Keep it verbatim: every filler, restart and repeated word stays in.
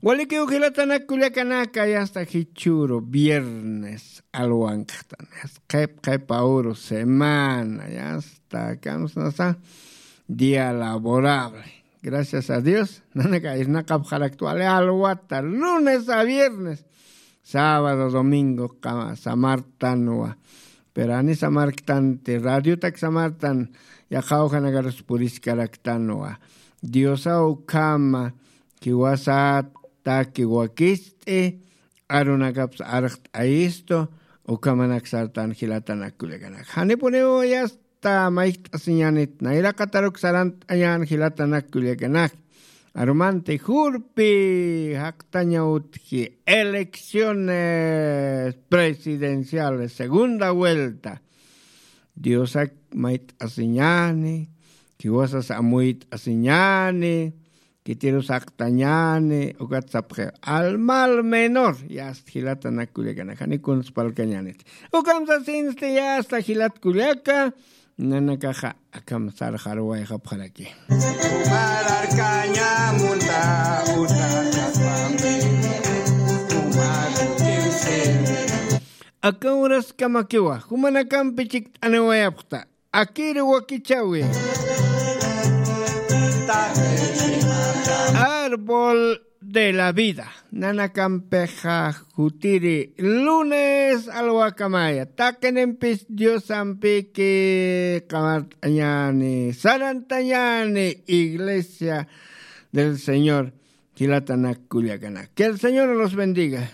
Walikiw jilatanak kullakanaka, ya está jichhüru viernes alwankxtan, ya está qhip qhip awru semana, ya está kamsnasa día laborable. Gracias a Dios nanaka irnaqapxarakta wali alwata, lunes a viernes, sábado domingo samartanwa. Pero ani samarktanti, radiotak samartan, yaqha awjanakarus puriskaraktanwa. Diosaw ukhama jiwasat taki wakist'i, arunakapsa arxt'ayistu. Ukhamanak sartan jilatanak kullakanak, janipuniw ya está mayjt'asiñänit nayraqataruk sarant'añän jilatanak kullakanak. Arumanti jurpi jaqtaña utji elecciones presidenciales segunda vuelta. Diosak mayt'asiñäni, jiwasas amuyt'asiñäni, khitirus jaqtañäni. Ukat sapxi al mal menor, ya está jilatanak kullakanak, jani kuns parlkañänit. Ukham sasinsti ya está jilat kullaka, nanakaxa akham sarxarwayxapxaraki. Umararkaña munta utanapami, umarukiw sirve. Aka uraskamakiwa jumanakampi chikt'aniwayapxta, akir wakichäwi. Árbol de la vida. Nanakampixa jutiri lunes alwakamaya, taqinimpis Diosampiki qamart'añäni, sarantañäni iglesia del Señor. Jilatanak kullakanak, que el Señor los bendiga.